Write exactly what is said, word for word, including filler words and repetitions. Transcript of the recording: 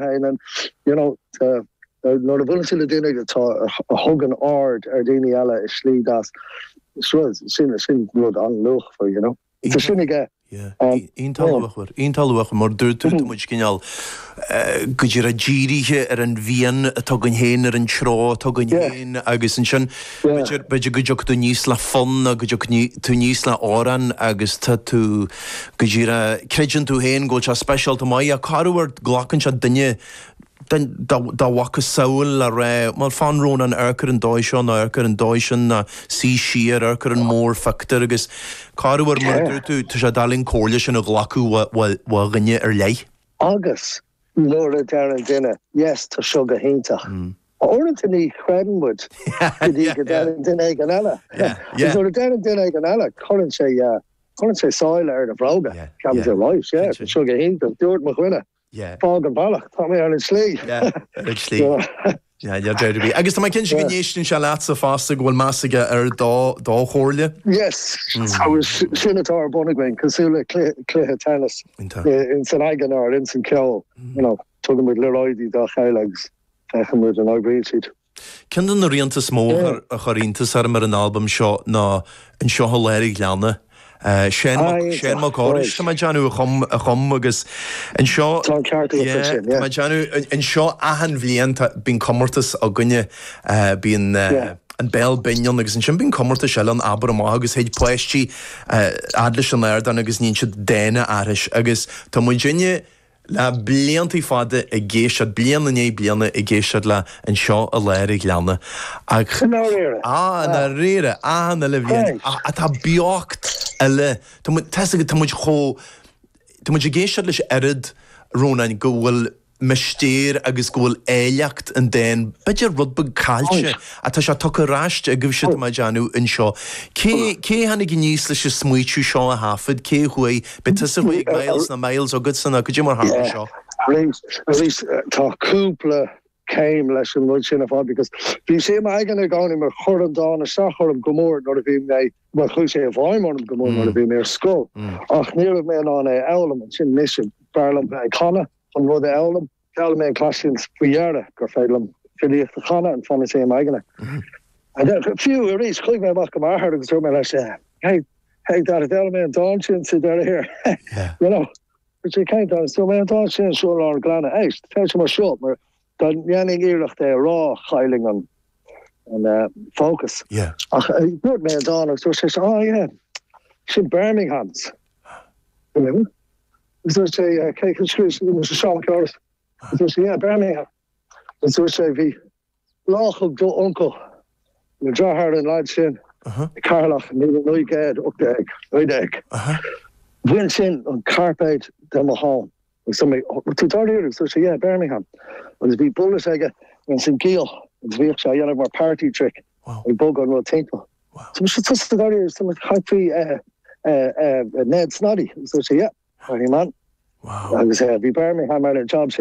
féin and you know uh, nuair a bhuaileann tú le duine atá a thugann aird ar daoine eile i slí deas sin sin rud an-luachmhar you know Tá sin aige Iontach iontach mar dúirt tú muid cineál go dtí dírithe ar an bhfíon atá againn féin ar an treo atá againn féin agus ansin b'fhéidir go dtiocfaidh tú aníos le fonn go dtiocfaidh tú aníos le amhrán agus tá tú go dtí creideann tú féin go bhfuil sé speisialta maith a corruair glacann sé duine dá mhacasamhail le rá mar fan Rónán amharc ar an dóigh seo ná amharc ar an dóigh sin ná suigh siar amharc ar an mórphictiúr agus corruair mar dúirt tú tá sé doiligh an comhairle sin a ghlacadh ó dhuine ar leith. Agus nuair a deireann duine yes tá seo go hiontach. Uaireanta ní chreideann muid go dtí go deireann duine éigin eile. Nuair a deireann duine éigin eile cuireann sé cuireann sé sáile ar na bróga Ceapann sé right seo go hiontach dúirt mo dhuine. Fág an bealach tá mé ar an slí. ar an slí. Agus tá cinnte go n-éisteann sé leatsa fosta go bhfuil meas aige ar do do chomhairle? Yes sin atá ar bun againn cosúil le cluiche tennis in san aigen ar in san ceol tugann muid liathróidí dá chéile agus féachann muid an oibríonn siad. Ceann de na rianta is mó a chuir iontas orm ar an albam seo ná Anseo i Lár an Ghleanna. Seán Mac Córais tá déanamh a chum a chum agus anseo déanamh anseo achan bhliain bíonn comórtas againne bíonn an Béal Binn agus ansin bíonn comórtas eile an Abair Amach agus théid páistí fhad leis an ardán agus níonn siad dán a aithris agus tá muidinne le bliantaí fada ag éisteacht bliain i ndiaidh bliana ag éisteacht le Anseo i Lár an Ghleanna ach á dáiríre achan uile bhliain atá beocht eile tá muid chomh Tá muid ag éisteacht leis oiread Rónán go bhfuil mistéir agus go bhfuil áilleacht an dáin b'fhéidir rud beag caillte atá sé tugtha ar ais agaibh siad má déanamh anseo. Cé cé tháinig aníos leis an smaoitiú seo a thaifead cé chuaigh be tusa chuaigh miles na miles agat san go dtí mar tharla seo. Arís tá cúpla céim leis an rud sin ar fad because bhí sé aigen i gcónaí mar chuir an dán isteach orm go mór nuair a bhí mé mar chuaigh sé i bhfeidhm orm go mór nuair a bhí mé ar scoil. Ach ní raibh mé in ann é a fhoghlaim ansin mise b'fhearr liom bheith ag canadh an rud a fhoghlaim. D'fhoghlaim mé an cleas faoi dheireadh gur féidir liom filíocht a chanadh an fanann sé aigen. Fiú arís chuaigh mé amach go m'athair agus dúirt mé leis hey hey dad d'fhoghlaim mé an dán sin sa deireadh thiar. You know sé cén dán so mé an dán sin seo lár an ghleanna éist tá sé mar seo mar dá ndéanfainn iarracht é a rá chaillfinn an an uh, focus. Yeah. Ach dúirt mé an dán agus dúirt sé oh yeah sin Birmingham's. Agus dúirt sé cé scríobh sé Seán Ceáras. Dúirt sé yeah Birmingham. Agus dúirt sé bhí laoch do uncail le deartháir an lad sin Ceatharlach míle naoi gcéad ocht déag naoi déag. Bhain sin an cairpéad de mo thóin. Agus mé tú dáiríre agus dúirt sé yeah Birmingham. Agus bhí bullet aige an giall agus bhíodh sé á dhéanamh mar party trick ag bogadh an rud timpeall. So sé tusa dáiríre so chaith faoi Ned Snoddy. Agus dúirt sé yeah, party man. Agus bhí Birmingham ar an job